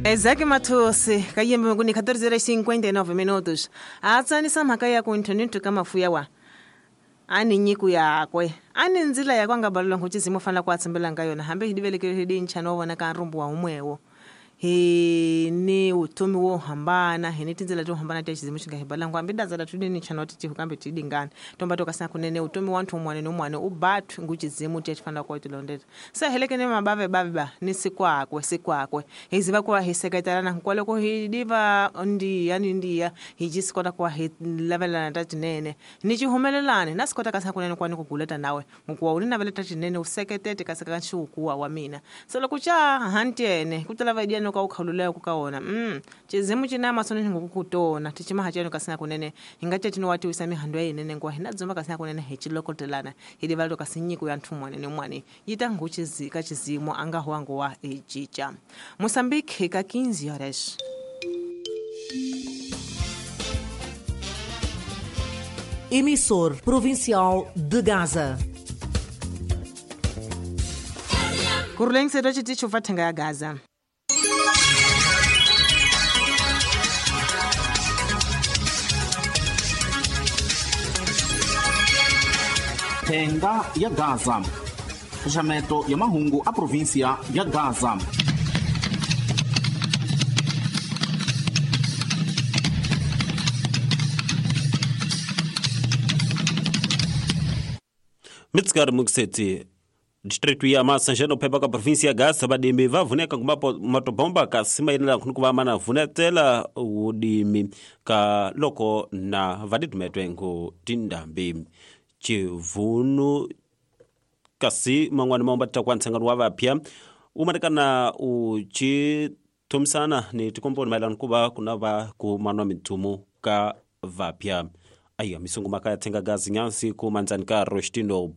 Isaac Mathosi ka yimbe ku ni 14:59 minutos a tsanisa mhaka ya ku ntho ka mafuya wa a ni nyiko yakwe a ni ndzila yakwe a nga balelwa nkucizimo fanela ku a tshembelanga ka yona hambi hi divelekele hi dincha no vona ka nrumbu wa humwewo hi ni vutomi wo hambana hi ni tindzela to hambana ta xizimo xi nga hi balangu hambi dazala tu ni nchana ti tihu kambe ti dingana tomba to kasina kunene vutomi wa nthu un'wana ni un'wana u batwi ngu xizimu ti fanela ku ti londzela se helekene mabave bave ba ni sikwakwe sikwakwe hi ziva ku va hi seketelana hinkwaloko hi diva ndiya ni ndiya hi ji swi kota ku va hi lavelana ta tinene ni xihumelelani na swi kota kasi kunene ku va ni ku guleta nawe hikuva u ni navela ta tinene u seketete kasi ka nxiwukuwa wa mina se loko xa hantiene ku ta lava idiya no ka u khawululeko ka wona xizimu ci na masoni ni ngoku ku tona ti cima haceno kasi na kunene hi nga cetini wa tiwisa mihandu ya yinene nguwa hi na dzumba kasi na kunene hi cilokotelana hi livala to kasi nyiko ya nthu mwane ni mwane yi ta ngu ka xizimu a nga huwangu wa hi cinca Moçambique ka 15 horas. Emissor Provincial de Gaza. Kurulengise xitichi fa thenga ya Gaza. Thenga ya Gaza. Xaxameto ya mahungu a província ya Gaza. Mitsikari mukisetsi distritu ya Masanjeno phepha ka província ya Gaza vadimi va vuneka matobomba kasi mayenela ku va mana vunetela wudimi ka loko na vadidumetwe ngu tindambi chivunu kasi man'wana ma ta kwa ntshangano wa vapya wu matekana u ci thomisana ni tikomponi mayelana ku va ku na va ku manwa mithumu ka vapya aya misungu maka ya thenga gazi nyansi ku mandzani ka Rostino.